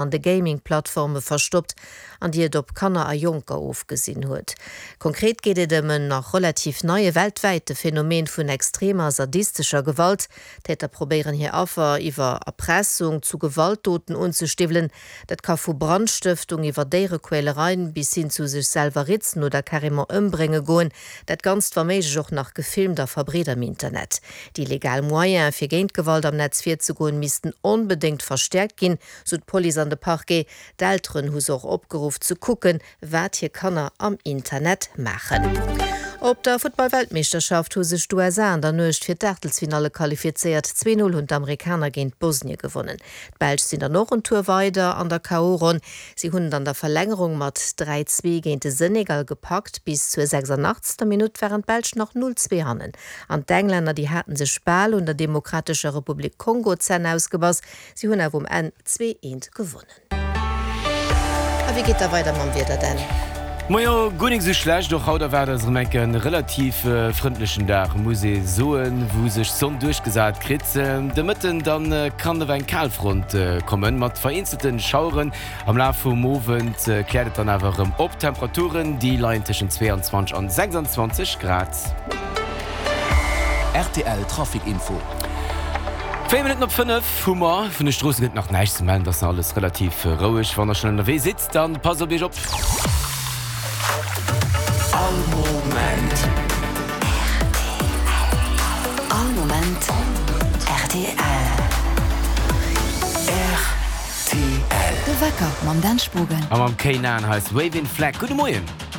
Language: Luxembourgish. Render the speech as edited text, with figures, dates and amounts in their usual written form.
An de Gaming-Plattforme verstoppt an déi et op Kanner a Jonker ofgesinn huet. Konkret geet et ëm en nach relativ neie weltwäite Phänomen vun extremer sadistescher Gewalt. D'Täter probéieren hir Affer iwwer Erpressung zu Gewaltdoten unzestiwwelen. Dat ka vu Brandstëftung iwwer Déierequälereien bis hin zu sech selwer ritzen oder carrément ëmbrénge goen. Dat Ganzt wa méiglech och nach gefilmt a verbreet am Internet. Déi legal Moyene fir géint Gewalt am Netz virzegoen missten onbedéngt verstäerkt ginn, sou d'Police an de Parquet. D'Elteren hu se och opgeruff ze kucken, wat hir Kanner am Internet maachen. Op der Futtball-Weltmeeschterschaft hu sech d'USA an der Nuecht fir d'Aachtelsfinalle qualifizéiert. 2, 0 hunn d'Amerikaner géint Bosnie gewonnen. D'Belsch sinn dann och en Tour weider an der KO-Ronn. Si hunn et an der Verlängerung mat 3, 2 géint de Senegal gepackt. Bis zur 86. Minutt waren d'Belsch nach 0, 2 hannen. An d'Englänner, déi haten sech bal un der Demokratescher Republik Kongo d'Zänn ausgebass. Si hunn awer um Enn 2, 1 gewonnen. A wéi geet da weider mam Wieder, Dan? Majo, guer nik sou schlecht. Och haut erwaart eis erëm enk e relativ frëndlechen Dag, muss ee soen, wou sech d'Sonn duerchgesat kritt. De Mëtten dann kann awer eng Kalfront kommen, mat vereenzelte Schaueren. Am Laf vum Owend kläert et dann awer erëm op. D'Temperaturen, déi leien tëschent 22 an 26 Grad. Rtl Trafic Info. 4 Minutten op 5 hu mer. Vun de Stroosse gëtt nach näischt ze mellen, et ass nach alles relativ roueg. Wann der schonn ënnerwee sidd, dann passt op iech op. All Moment. All Moment rtl. Rtl. De Wecker mam Dan Spogen. A mam K'Naan hei ass Wavin' Flag. Gudde Moien.